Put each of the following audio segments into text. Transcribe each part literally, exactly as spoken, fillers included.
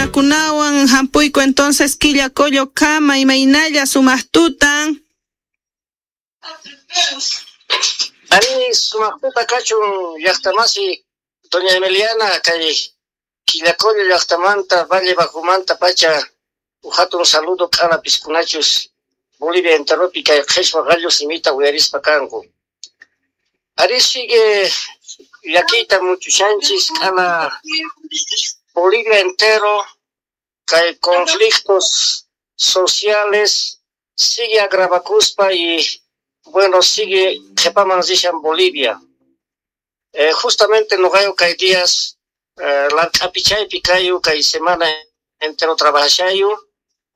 Runakunawan hampuyku entonces Quillacollo kama imaynalla sumaq tutan. Ari sumaq tuta kachun llaqtamasi doña Emiliana kay Quillacollo llaqtamanta Valle Bajumanta pacha hatun saludo k'ala piskunachus Bolivia enteropi kay qhishwa gallo simita uyarispa kanku. Ari sigue llakiyta muchushanchis k'ala Bolivia entero kay conflictos sociales sigue agravakuspa y bueno sigue qhipaman rishan Bolivia. Eh, justamente noqayu kay días eh, lark'apichaypi kayu kay semana entero trabajashayu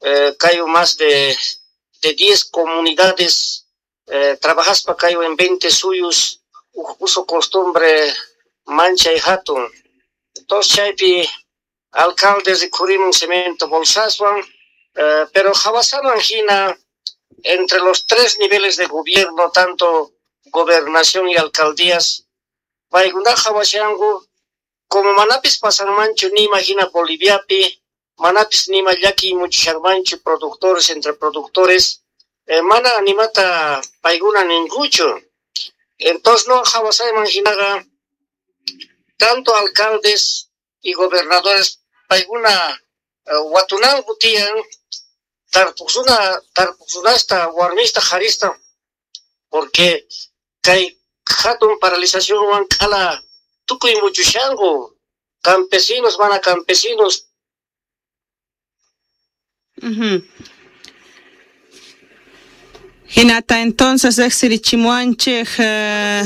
eh, kayu más de de diez comunidades eh, trabajaspa kayu en veinte suyus uso costumbre manchay hatun. Entonces chaypi alcalde rikhurimun cemento bolsaswan eh, pero hawasaman hina entre los tres niveles de gobierno, tanto gobernación y alcaldías, paykuna hawashanku como manapis pasanmanchu nima hina Boliviapi, manapis nima llaki muchushanmanchu productores entre productores, eh, mana animata paykuna ninkuchu. Entonces no hawasayman hinaqa tanto alcaldes y gobernadores paykuna eh, watunanku tiyan tarpuqsuna tarpuqsunasta warmista qharista porque kay hatun paralizacionwan k'ala tukuy muchushanku campesinos mana campesinos. Uh-huh. Hinata entonces riqsirichimuwanchik uh,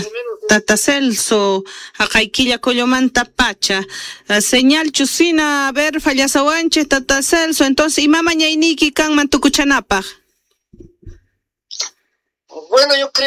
Tata Celso haqay Quillacollomanta pacha uh, señal chusina a ver fallasawanchik Tata Celso entonces ima mañayniyki kanman tukuchanapaq. Bueno, yo creo